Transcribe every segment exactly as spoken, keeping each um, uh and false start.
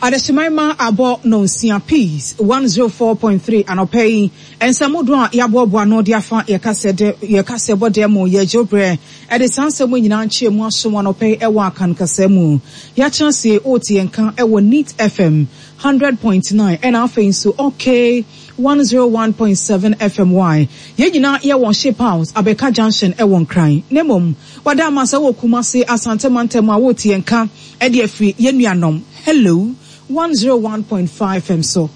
Adehyeman ma abɔ nonsia, Peace one zero four point three. Anɔpɛ yi, nsɛm dodoɔ a yɛaboaboa no de afa yɛkasɛ bɔ dɛ mu yɛgye berɛ ɛde saa nsɛm nyinaa nkyerɛ mu asom anɔpɛ yi ɛwɔ Akan mu. Yɛatena se wote yɛn ka ɛwɔ Neat F M hundred point nine, ɛna afei nso Okay one zero one point seven F M Y. Yɛn nyinaa yɛwɔ Ship House, Abɛka Junction, ɛwɔ Nkran. Na mmom wada ama sɛ wɔ Kumase, Asante mantam a, wote yɛn ka ɛde afiri yɛn nuanom Hello one zero one point five F M so.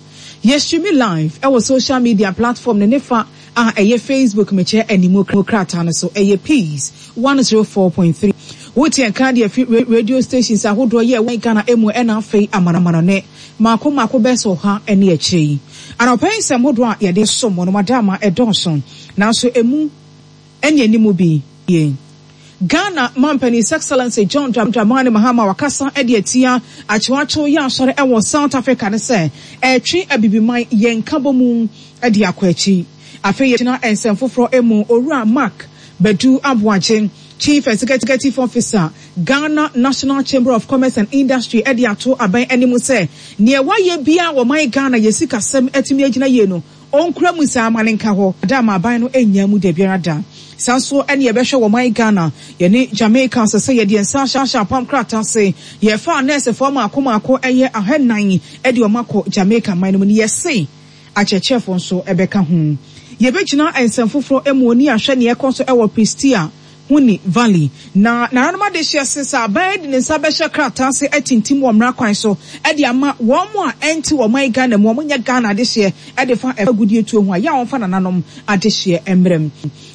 Yɛstream live ɛwɔ social media platform ne nefa a ɛyɛ Facebook, mekyerɛ animu krataa no so, ɛyɛ Peace one zero four point three. Wote yɛn ka de afiri radio stations ahodoɔ yɛ ɛwɔ Ghana emu, ɛna afei amanamanɔne maako maako bɛsɛ ɔha ne akyire yi. Anɔpɛ nsɛm hodoɔ a yɛde som wɔn madama ɛdɔɔso, nanso emu ɛne anim bi yie. Ghana mampanin, His Excellency John Dramani Mahama, wakasa de atia akyewakyew yɛ asɔre ɛwɔ South Africa ne sɛ ɛtwe abibiman yɛn nkabɔ mu de akɔ akyi. Afei yɛgyina nsɛm foforɔ mu. Owura Mark Badu Aboagye, Chief Executive Officer, Ghana National Chamber of Commerce and Industry, ɛde ato aban anim sɛ nea wayɛ bia wɔ man Ghana yɛ sikasɛm atumi agyina yie no, ɔnkura mu saa ama ne nka hɔ da ama aban no anya mu da biara da. Saa nso ɛne yɛbɛhwɛ wɔ man Ghana yɛne Jamaica sɛ sɛ yɛde nsa ahyɛ apam krataa se yɛfa nɛɛsefoɔ maako maako ɛyɛ ahanan ɛde ɔmo akɔ Jamaica man no mu no, yɛse akyerɛkyerɛfoɔ nso ɛbɛka ho. Yɛbɛgyina nsɛm foforɔ mu oni ahwɛ nea ɛkɔ so ɛwɔ Prestea Huni Valley na nananom adehyɛ se sɛ aban de ne nsa bɛhyɛ krataa ase atintim wɔ mmara kwan so ɛde ama wɔn mo a ɛnte wɔn man Ghana mu, wɔn nyɛ Ghana adehyeɛ, ɛde fa agudie tuo ho a yɛ a wɔmfa nananom adehyeɛ mmerɛm.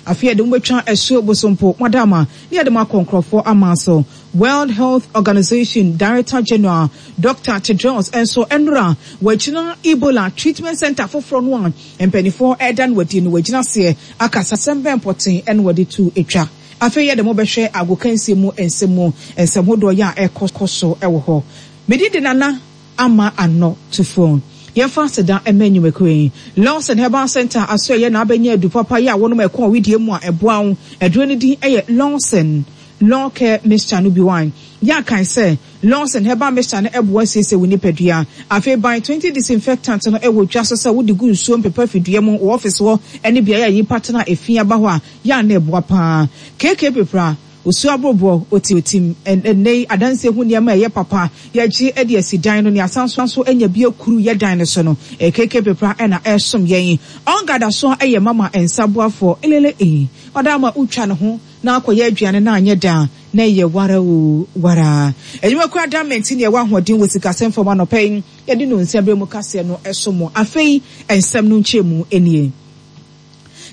Afei yɛde mo bɛtwa asuo Bosompo madama ne yɛde mo akɔ nkurɔfoɔ ama so. World Health Organization Director General Doctor Tedros nso nnora wɔagyina Ebola treatment center foforɔ no a mpanimfoɔ ɛda no wadi no, wɔagyina seɛ akasa sɛm bɛn pɔten ɛna wɔde tu etwa. Afei yɛde mo bɛhwɛ agokansie mu nsɛm mu, nsɛm hodoɔ yɛ a ɛkɔ so ɛwɔ hɔ. Medi de Nana Ama Anɔ Tufoɔ. Yɛmfa aseda ɛma nnwumakuo yi: Lawson Herbal Center aso ɛyɛ na abɛnya adu papa yi a wɔnom ɛkɔn widie mu a ɛboa wo. Aduro no din ɛyɛ Lawson Law Care Mixture no bi wine. Yɛ akan sɛ Lawson Herbal Mixture no ɛboa siesie wo nipadua. Afei Ban twenty disinfectant no ɛwɔ dwa so sɛ wode gu nsuo mpepa fidua mu wɔ office hɔ ɛne beaeɛ a nyimpa tena efi aba hɔ a, yɛ a na ɛboa paa. Keke Pepra osuo aboroboɔ oti otim ɛnɛ yi adansie ho nneɛma a ɛyɛ papa yɛgye de asi dan no ne asan so nso anya bi akuru yɛ dan no so no, Keke Pepra ɛna ɛsom yɛn. Ɔngada so ɛyɛ mama nsa boafoɔ elele ee ɔda ama wotwa ne ho na akɔyɛ aduane na anyɛ daa na ɛyɛ wara o wara. Adwumakura damenti ne ɛwɔ ahoɔden wɔ sikasɛm fam. Anɔpɛ yi yɛde no nsɛm bere mu kaseɛ no ɛso mo. Afei nsɛm no nkyɛn mu nie.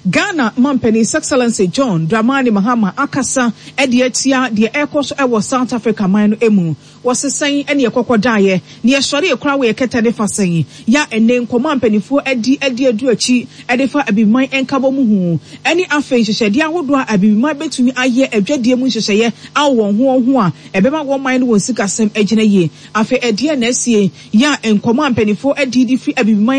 Ghana mampanin, His Excellency John Dramani Mahama, akasa ɛde atia deɛ ɛrekɔ so ɛwɔ South Africa man no mu. Wɔsesɛn ɛne ɛkɔkɔ daeɛ ne yɛsɔre ekura wɔ yɛkɛtɛ ne fa sɛn ya ɛnɛ nkɔmɔ a mpanimfoɔ adi adi adu akyi ɛde fa abibiman nkabɔ mu ho, ɛne afei nhyehyɛdeɛ ahodoɔ a abibiman bɛtumi ayɛ adwadie mu nhyehyɛeɛ awɔ wɔn ho wɔn ho a ɛbɛma wɔn man no wɔn sikasɛm agyina yie. Afei ɛdeɛ na asie ya nkɔmɔ a mpanimfoɔ adi de firi abibiman